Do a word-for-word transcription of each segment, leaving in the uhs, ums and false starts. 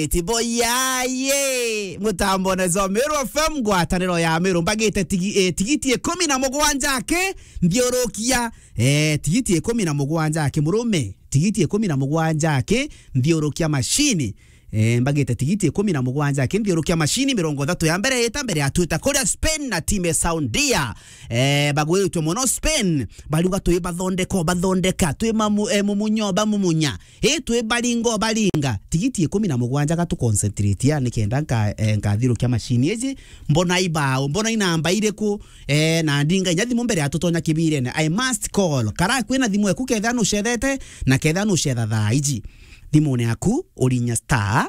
Itiboyaye. Mutambo na zo Meru F M, ngwataniro ya Meru. Mbagite tigi-, eh, tigiti ikumi na mugwanja aki, nthiurukia. Eh, tigiti ikumi na mugwanja aki, murume. Tigiti ikumi na mugwanja aki, nthiurukia mashini. Eh, mbagite tigiti ikumi na mugwanja aki, nthiurukia mashini, mirongo ithatu ya mbere ita mbere ya twita kuria Spain na timu ya Saudia. Eh, bagwiritwe muno Spain, bariuga twi bathondeka, bathondeka, twi mamu-, eh, mumunyo, bamumunya. Ii twi baringa, baringa. Tigiti ikumi na mugwanja ga tu concentrate ya, nikenda nka-, eh, nkathirukia mashini iji, mbona ibao, mbona inamba iriku, eh, na ndinga inya thimu mbere ya tutonya kibirene. I must call. Kara kwina thimu eku ketha nucethete, na ketha nucetha thaa iji. Thimune yaku, urinya star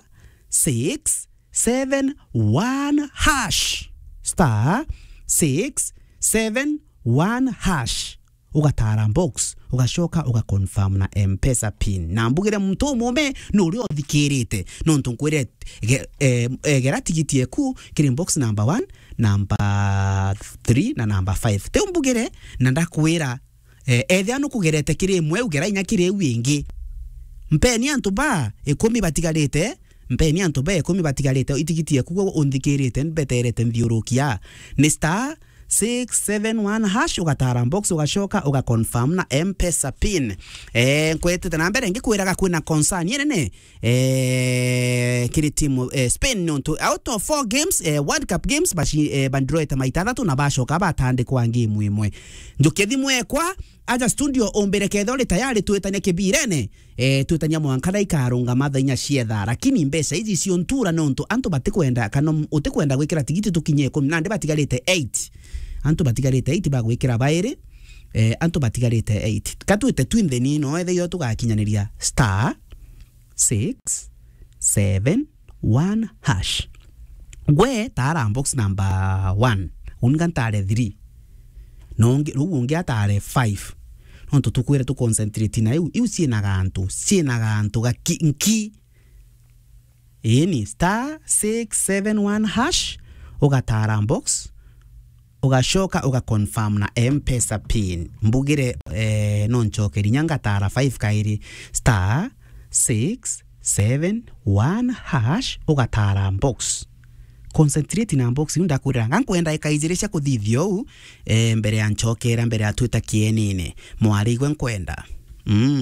six seven one hash. Star six seven one hash. Ugatara box, ugacoka uga confirm na M-Pesa pin. Na mbugire muntu umume ni uria uthikirite. Nontu nkwire ge-, eh, eh, gera tigiti eku kiri box number one, number three na number five. Teu mbugire na ndakwira, eh, ethia nukugerete kiri imwe, ugera inya kiri iu ingi. Mpeni antu ba ikumi batigarite, mpeni antu ba ikumi batigarite, itigiti eku gwe unthikirite, mbeterete nthiurukia. Ni star six seven one hash, ugatara box, ugacoka, uga confirm na M-Pesa pin. Eh, nkwetete na mbere ngikwiraga kwina concern inene, eh, kiri timu, eh, Spain, nontu out of four games, eh, World Cup games, baci-, eh, bandiroete maita athatu na bacoka batandikwa game imwe. Njukia thimu ekwa, aja studio umbire ketha uri tayari twitanie kibirene. Eh, twitania mwanka na ikarungama thaa inya cia thaa, lakini mbeca iji ciontura nontu antu batikwenda, kana utikwenda gwikira tigiti tukinye ikumi, nandi batigarite eight. Antu batigarite eight bagwikira bairi, eh, antu batigarite eight. Katwite twinthe ni no ethe yo tugakinyaniria star six seven one hash. Gwe tara box number one, uninga ntare three. No ungi, riu ungi atare five. Nontu tukwire tu concentrate na iu, iu ciina gantu, ciina gantu gaki-, nki. Ii ni star six seven one hash, ugatara box, ugacoka uga confirm na M-Pesa pin. Mbugire, eh, no ncokeri inya ngatara five kairi, star six seven one hash, ugatara box. Concentrate na box, iu ndakwirira, nga nkwenda ikaijiri cia kuthithia uu, eh, mbere ya ncokera, mbere ya twita kienine. Mwari igwe nkwenda. Mm.